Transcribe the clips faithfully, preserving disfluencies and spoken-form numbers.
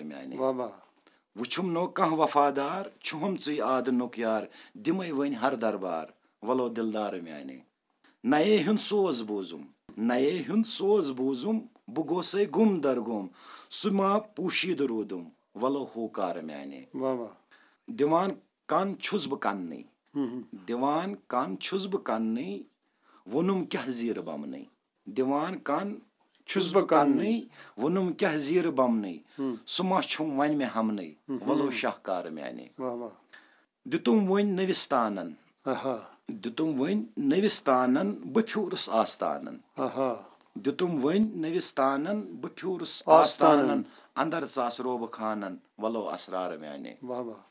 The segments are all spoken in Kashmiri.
میانہِ۔ واہ واہ۔ وُچھُم نو کانٛہہ وفادار، چھُہم ژٕے آدٕ نُک یار، دِمے وۄنۍ ہر دربار، ولو دلدار میانہِ۔ نَیے ہُنٛد سوز بوٗزُم، نَیے ہُنٛد سوز بوٗزُم، بہٕ گوسَے گُم در گُم، سُہ ما پوٗشیٖدٕ روٗدُم، وَلو ہوکار میٛانہِ۔ واہ واہ۔ دِوان کَن چھُس بہٕ کَننٕے، ہُم ہُم۔ دِوان کَن چھُس بہٕ کَننٕے، ووٚنُم کیٛاہ زیٖرٕ بَمنٕے۔ دِوان کَن چھُس بہٕ کَننٕے، ووٚنُم کیٛاہ زیٖرٕ بَمنٕے، ہُم۔ سُہ ما چھُم وۄنۍ مےٚ ہَمنٕے، ہُم۔ وَلو شاہکار میٛانہِ۔ واہ واہ۔ دِتُم وۄنۍ نٔوِس تانن۔ آہا۔ دِتُم وۄنۍ نٔوِس تانن، بہٕ پھیوٗرُس آستانن۔ آہا۔ دِتُم وۄنۍ نٔوِس تانن، بہٕ پھیوٗرُس آستانن۔ آستانن۔ اندر ژاس روبہٕ خانن، ولو اسرار میانہِ۔ واہ واہ۔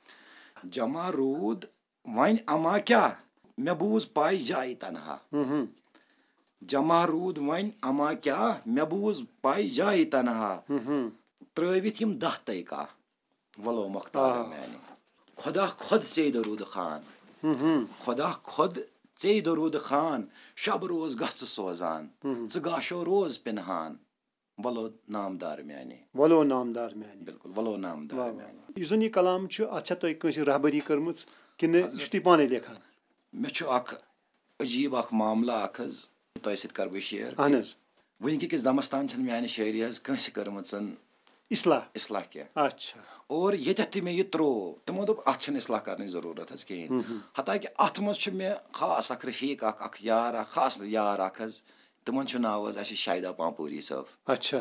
جمع روٗد وۄنۍ اما کیٛاہ، مےٚ بوٗز پاے جایہِ تنہا۔ ہُم ہُم۔ جمع روٗد وۄنۍ اما کیٛاہ، مےٚ بوٗز پاے جایہِ تنہا۔ ہُم ہُم۔ ترٲوِتھ یِم دَہ تَے کاہ۔ ولو مۄختار آ۔ میانہِ۔ خۄدا خۄد ژے دروٗد خان۔ ہُم ہُم۔ خۄدا خۄد ژے دروٗد خان۔ شب روز گژھ ژٕ سوزان۔ ہُم ہُم۔ ژٕ گاشو روز پِنہان۔ ولو نامدار میانہِ۔ ولو نامدار میانہِ۔ بِلکُل، ولو نامدار واہ واہ۔ میانہِ۔ یُس زَن یہِ کلام چھُ، اَتھ چھا تۄہہِ کٲنٛسہِ رہبری کٔرمٕژ کِنہٕ یہِ حضرت۔ چھُ تُہۍ پانَے لیکھان؟ مےٚ چھُ اکھ عجیٖب اکھ معاملہٕ اکھ حظ، تۄہہِ سۭتۍ کرٕ بہٕ شیئر۔ اہن حظ۔ وٕنکہِ کِس دمس تام چھنہٕ میانہِ شٲعری حظ کٲنٛسہِ کٔرمٕژ اصلاح۔ اصلاح کینٛہہ۔ اچھا۔ اور ییٚتٮ۪تھ تہِ مےٚ یہِ ترٛوو، تِمو دوٚپ، "اتھ چھنہٕ اصلاح کرنٕچ ضروٗرت حظ کِہیٖنۍ۔" ہُم ہُم۔ حتیٰ کہِ اتھ منٛز چھُ مےٚ خاص اکھ رفیق اکھ، اکھ یار اکھ، خاص یار اکھ حظ، تِمن چھُ ناو حظ اَسہِ شاہدہ پامپوری صٲب۔ اچھا۔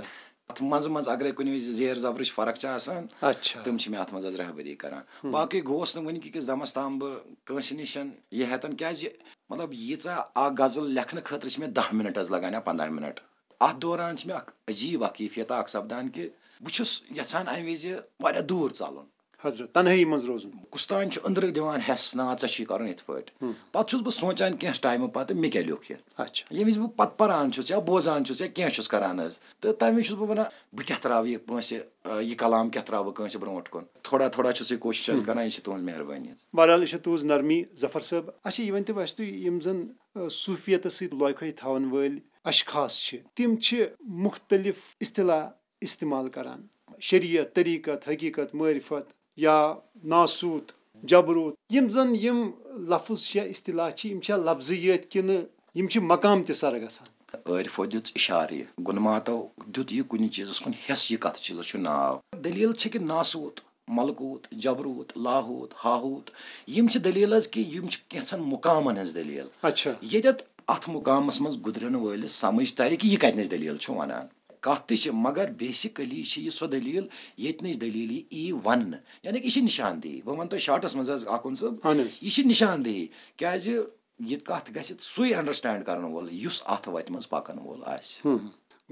اتھ منٛزٕ منٛزٕ اگرے کُنہِ وِزِ زیر زبرٕچ فرق چھِ آسان، اچھا۔ تِم چھِ مےٚ اتھ منٛز حظ رہبری کران۔ ہُم۔ باقٕے گوس نہٕ وٕنہِ کہِ کِس دمس تام بہٕ کٲنٛسہِ نِش یہِ ہٮ۪تن، کیازِ مطلب، ییٖژاہ اکھ غزل لیکھنہٕ خٲطرٕ چھِ مےٚ دَہ مِنٹ حظ لگان یا پنٛداہ مِنٹ۔ اتھ دوران چھِ مےٚ اکھ عجیٖب اکھ کیفیت اکھ سپدان کہِ بہٕ چھُس یژھان امہِ وِزِ واریاہ دوٗر ژلُن۔ حضرت، تنہٲیی منٛز روزُن۔ کُستام چھُ أنٛدرٕ دِوان ہٮ۪س، "نا، ژےٚ چھُے کرُن یِتھ پٲٹھۍ۔" ہُم۔ پتہٕ چھُس بہٕ سونٛچان کینٛہہ ٹایمہٕ پتہٕ، مےٚ کیٛاہ لیوٚکھ یہِ؟ اچھا۔ ییٚمہِ وِزِ بہٕ پتہٕ پران چھُس یا بوزان چھُس یا کینٛہہ چھُس کران حظ، تہٕ تمہِ وِزِ چھُس بہٕ ونان، "بہٕ کیٛاہ ترٛاوٕ یہِ کٲنٛسہِ، آ، یہِ کلام کیٛاہ ترٛاوٕ بہٕ کٲنٛسہِ برونٛٹھ کُن؟" تھوڑا تھوڑا چھُس یہِ کوٗشِش حظ ہُم۔ کران، یہِ چھِ تُہٕنٛز مہربٲنی حظ۔ بہرحال، یہِ چھِ تُہٕنٛز نرمی، ظفر صٲب۔ اچھا، یہِ ؤنۍ تو اَسہِ تُہۍ، یِم زَن، آ، صوٗفیتَس سۭتۍ لوے کھوے تھاوَن وٲلۍ اشخاص چھِ، تِم چھِ مُختٔلِف اصطلاح استعمال کران۔ شریعت، طریقت، حقیقت، معرفت یا ناسوت، جبروت، یِم زَن یِم لفظ چھِ یا اصطلاح چھِ، یِم چھا لفظی یٲتۍ کِنہٕ یِم چھِ مقام تہِ سر گژھان؟ عٲرفو دیُت اِشارٕ یہِ، گُنماتو دیُت یہِ کُنہِ چیٖزَس کُن حِصہٕ، یہِ کَتھ چیٖزَس چھُ ناو۔ دٔلیٖل چھِ کہِ ناسوت، ملکوت، جبروت، لاہوت، ہاہوت، یِم چھِ دٔلیٖل حظ کہِ یِم چھِ کینٛژھن مقامن ہٕنٛز دٔلیٖل۔ اچھا۔ ییٚتٮ۪تھ اَتھ مقامس منٛز گُزرن وٲلِس سمجھ ترِ کہِ یہِ کتہِ نِش دٔلیٖل چھُ ونان۔ کتھ تہِ چھِ، مگر basically چھِ یہِ سۄ دٔلیٖل، ییٚتہِ نِش دٔلیٖل یہِ یی وننہٕ۔ یعنی کہِ یہِ چھِ نشاندہی۔ بہٕ ونہٕ تۄہہِ شارٹس منٛز حظ اکھ کُن صٲب، اہن حظ۔ یہِ چھِ نشاندہی۔ کیازِ یہِ کتھ گژھِ سُے understand کرن وول، یُس اتھ وتہِ منٛز پکن وول آسہِ۔ ہم۔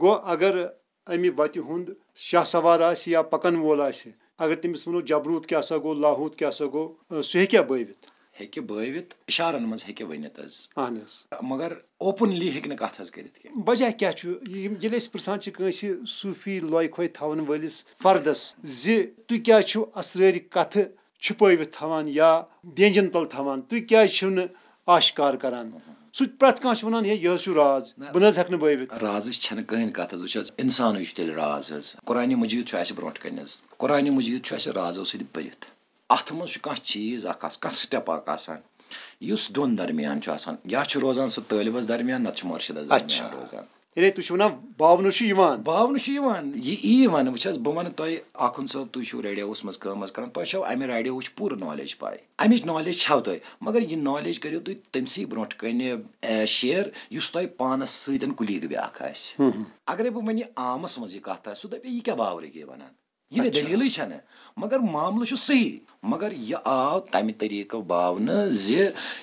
گوٚو اگر امہِ وتہِ ہُنٛد شاہ سوار آسہِ یا پکن وول آسہِ، اگر تٔمِس ونو جبروت کیٛاہ سا گوٚو، لاہوت کیٛاہ سا گوٚو، سُہ ہیٚکیٛاہ بٲوِتھ؟ ہیٚکہِ بٲوِتھ، اِشارن منٛز ہیٚکہِ ؤنِتھ حظ۔ اہن حظ۔ مگر openly ہیٚکہِ نہٕ کتھ حظ کٔرِتھ کینٛہہ۔ وجہ کیٛاہ چھُ؟ یِم، ییٚلہِ أسۍ پرژھان چھِ کٲنٛسہِ صوٗفی لوے کھوے تھاون وٲلِس فردس زِ تُہۍ کیٛازِ چھِو اسرٲرۍ کتھٕ چھُپٲوِتھ تھاوان یا ڈینجن تل تھاوان، تُہۍ کیٛازِ چھِو نہٕ آشکار کران؟ سُہ تہِ پرٛٮ۪تھ کانٛہہ چھُ وَنان، "ہے، یہِ حظ چھُ راز، نہ۔ بہٕ نہ حظ ہٮ۪کہٕ نہٕ بٲوِتھ۔" رازٕچ چھَنہٕ کٕہٕنۍ کَتھ حظ۔ وٕچھ حظ، اِنسانٕے چھُ تیٚلہِ راز حظ۔ قرآنِ مجیٖد چھُ اَسہِ برونٛٹھ کَنہِ حظ۔ قرآنِ مجیٖد چھُ اَسہِ رازو سۭتۍ بٔرِتھ۔ اَتھ منٛز چھُ کانٛہہ چیٖز اَکھ آس-، کانٛہہ step اَکھ آسان، یُس دۄن درمیان چھُ آسان۔ یا چھُ روزان سُہ طٲلبَس درمیان، نَتہٕ چھُ مُرشِدَس درمیان اچھا۔ روزان۔ یعنی تُہۍ چھِو وَنان باونہٕ چھُ یِوان؟ باونہٕ چھُ یِوان۔ یہِ یی وَنہٕ۔ وٕچھ حظ، بہٕ وَنہٕ تۄہہِ، آخُن صٲب، تُہۍ چھِو ریڈیوَس منٛز کٲم حظ کَران، تۄہہِ چھَو اَمہِ ریڈیوٕچ پوٗرٕ knowledge پَے۔ اَمِچ knowledge چھَو تۄہہِ، مگر یہِ knowledge کٔرِو تُہۍ تٔمسٕے برونٛٹھ کَنہِ، اے، share، یُس تۄہہِ پانَس سۭتۍ colleague بیٛاکھ آسہِ۔ ہُم، ہُم۔ اگرے بہٕ وۄنۍ یہِ عامَس منٛز یہِ کَتھ آسہِ، سُہ دَپہِ، "یہِ کیٛاہ باورٕگی وَنان؟ یہِ نہٕ اچھا۔ دٔلیٖلٕے چھَنہٕ۔" مگر معاملہٕ چھُ صحیح، مگر یہِ آو تَمہِ طریٖقہٕ باونہٕ زِ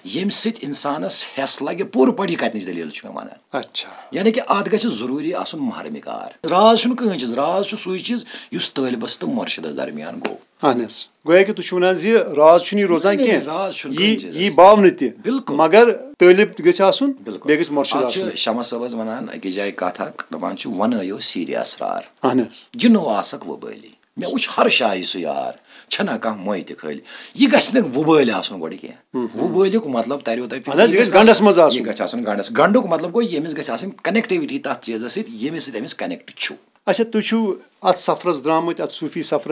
ییٚمہِ سۭتۍ اِنسانَس حٮ۪س لَگہِ پوٗرٕ پٲٹھۍ، یہِ کَتہِ نِچ دٔلیٖل چھُ مےٚ وَنان۔ اچھا۔ یعنی کہِ اَتھ گژھِ ضروٗری آسُن محرمِ کار۔ راز چھُنہٕ کٕہٕنۍ چیٖز، راز چھُ سُے چیٖز یُس طٲلبَس تہٕ مُرشِدَس درمیان گوٚو۔ اہن حظ۔ گویا کہِ تُہۍ چھِو وَنان زِ راز چھُنہٕ یہِ روزان نہ، نہ، کینٛہہ۔ راز چھُنہٕ یہِ، کُنہِ چیٖزَس۔ یہِ باونہٕ تہِ۔ بِلکُل۔ مگر طٲلب گژھِ آسُن، بِلکُل۔ بیٚیہِ گژھِ مُرشِد اَتھ چھُ آسُن۔ شمس صٲب حظ وَنان أکِس جایہِ کَتھ اَکھ، دَپان چھُ، "وَنٲیِو سیٖرِ اسرار۔ اہن حظ۔ یہِ نوٚو آسَکھ وۄبٲلی۔ مےٚ وٕچھ ہر شایہِ سُہ یار، چھَنہ کانٛہہ موے تہِ خٲلی۔ یہِ گژھِ نہٕ وۄبٲلۍ آسُن گۄڈٕ کینٛہہ۔" ہُم، ہُم۔ وۄبٲلیُک مطلب تَریو تۄہہِ فِکرِ، اہن حظ، یہِ گژھِ گنٛڈَس منٛز آسُن۔ یہِ گژھِ آسُن گنٛڈَس۔ گنٛڈُک مطلب گوٚو، ییٚمِس گژھِ آسٕنۍ connectivity تَتھ چیٖزَس سۭتۍ، ییٚمِس سۭتۍ أمِس connect چھُ۔ اچھا، تُہۍ چھِو اَتھ سفرَس درٛامٕتۍ، اَتھ صوٗفی سفرَس